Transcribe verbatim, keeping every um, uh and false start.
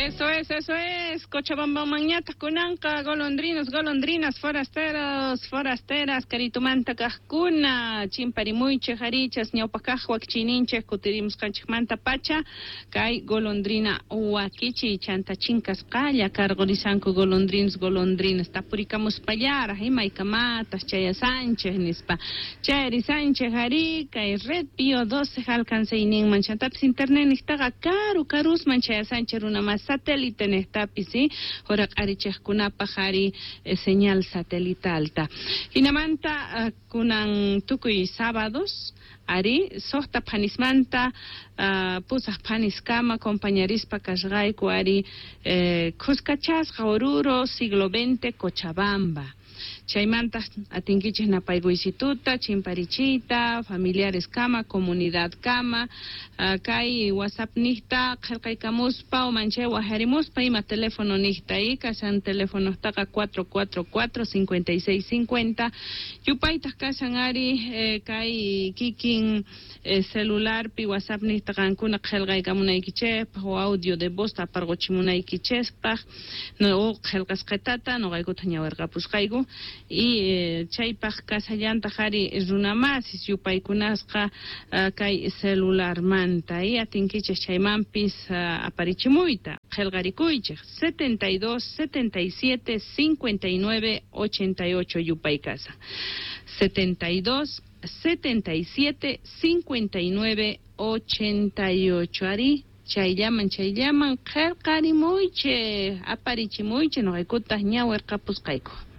Eso es, eso es. Cochabamba mañata kunanqa, golondrinos, golondrinas, forasteros, forasteras, karitumanta kaqkuna, chimparimuychik arichas, ñawpakaq wakichiyninchik kutirimusqanchikmanta pacha, kay golondrina wakichiy chanta chinkasqalla karqurisanku golondrinos, golondrinas, tapurikamuspallaraq imaykamatas chayasanchik nispa. Chayarisanchik ari kay Red Bio doce alcanceyninman chantapis internet niqtaqa karu karusman chayasanchik runa mas satélite niqtapis, ¿sí? Huraq'arichiqkunapaq ari eh, señal satelitalta. Hinamanta uh, kunan tukuy sábados ari suqta phanismanta uh, pusaq phaniskama compañarispa kasqayku ari eh, khuskachasqa Oruro siglo veinte Cochabamba. Chaymanta atinkichik napaykuysituta, chimparichiyta, familiares kama, comunidad kama, uh, kay WhatsApp niqta qillqaykamuspa o manchay waharimuspa ima teléfono niqta y kashan teléfono taqa cuatro cuatro cuatro cincuenta y seis cincuenta yupaytaq kashan ari eh, kay kikin eh, celularpi WhatsApp niqta qankuna qillqaykamunaykichikpaq o audio de voz aparquchimunaykichikpaq no o qillqasqitata nuqaykuta ñawirqapusqayku y eh, chaypaq kasallantaq ari runamasis yupaykunasqa uh, kay celularmanta y atinkichik chaymanpis uh, aparichimuyta qillqarikuychik setenta y dos, setenta y siete, cincuenta y nueve, ochenta y ocho yupay kasa setenta y dos, setenta y siete, cincuenta y nueve, ochenta y ocho ari chayllaman chayllaman qillqarimuychik aparichimuychik nuqaykutaq ñawirqapusqayku.